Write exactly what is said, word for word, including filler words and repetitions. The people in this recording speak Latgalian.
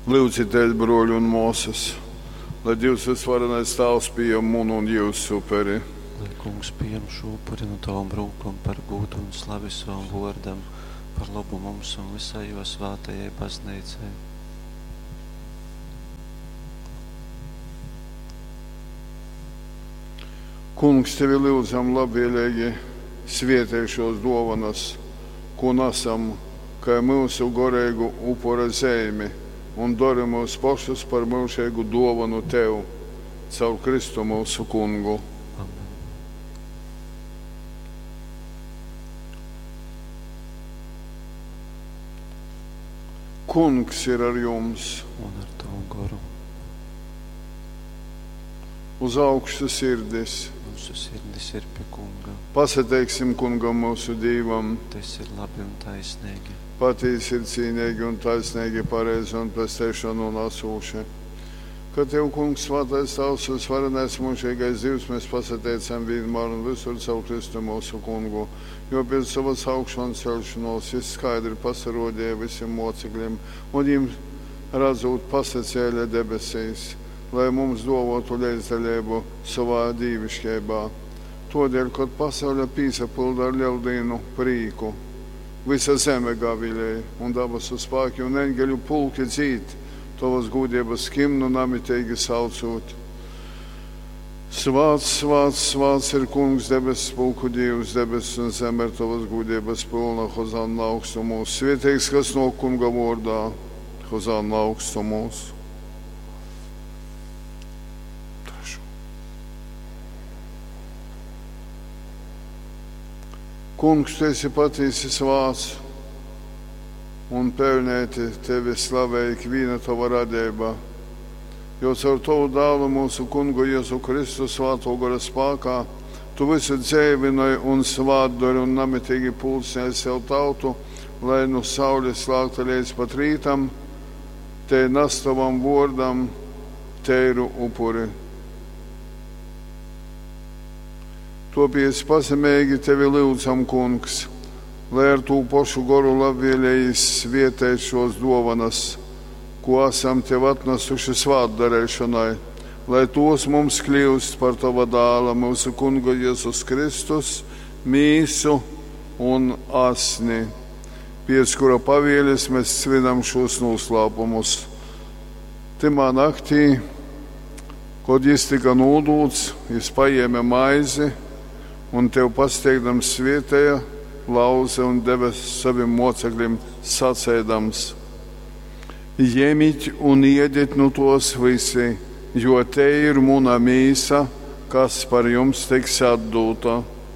Lyudzitēs, bruoļi un muosys, lai Dīvs Vysvarenais Tāvs pījam munu un jiusu uperi. Lai Kungs pījam šū upuri nu tovom rūkom par gūdu un slavi sovam vōrdam, par lobu mums un vysai jō svātajai Bazneicai. Kungs, tevi lyudzam, labvieleigi svietej šuos duovonys, kū nasam kai myusu goreigu upura zeimi, un dori myus pošus par myužeigu duovonu tev. Caur Kristu myusu Kungu. Amen. Kungs ir ar jums! Un ar tavu goru. Uz augšu sirdis! Mūsu sirdis ir pie Kunga. Pasateiksim Kungam myusu Dīvam! Tas ir labi un taisnīgi. Patīsi ir cīneigi un taisneigi, pareizi un pesteišonu nasūši. Ka Tev, Kungs, svātais Tāvs, vysvarenais myužeigais Dīvs, mēs pasateicam vienmēr un visur caur Kristu mūsu Kungu, jo pēc savas augšancelšanos Jis skaidri pasarodīja visiem mocekļiem un viņiem redzot pasacēla debesīs, lai mums duovotu leidzdaļību savā dīvišķībā. Todēļ, kad pasaule pīsapilda ar lieldīnu prīku, visa zeme gavilēja, un dabasu spāki un eņgeļu pulki dzīd, tovas gūdības himnu namitīgi saucot. Svāts, svāts, svāts ir Kungs, debesu pulku Dievs, debesis un zeme ir tovas gūdības pilna, Hozanna augstumos. Svētīgs, kas no Kunga vārdā, Hozanna augstumos. Kungs, tu esi patiesi svāts, un pelnēti tevi slavē ikviena tava radība, jo caur tavu dēlu mūsu Kungu Jēzu Kristu svāto gara spākā tu visu dzēvinoj un svātdori un namitīgi pulcināji sev tautu, lai nu saules lākta līdz pat rītam, te nas tavam vōrdam teiru upuri. Topies pazemeigi tevi lyudzam, Kungs, lai ar tū pošu goru labvēlīgi svietēt šos dovanas, ko esam tev atnesuši svātdarēšanai, lai tos mums kļūst par tava dāla, mūsu Kunga Jēzus Kristus, mīsu un asni, pēc kura pavieles mēs svinam šos noslēpumus. Timā naktī, kad jis tika nūdūts, jis paēma maizi un tev pasteigdams svietēja, lauze un deva saviem mocekļiem sacēdams: Ņemiet un iediet nu tos visi, jo te ir muna mīsa, kas par jums tiks atdūta.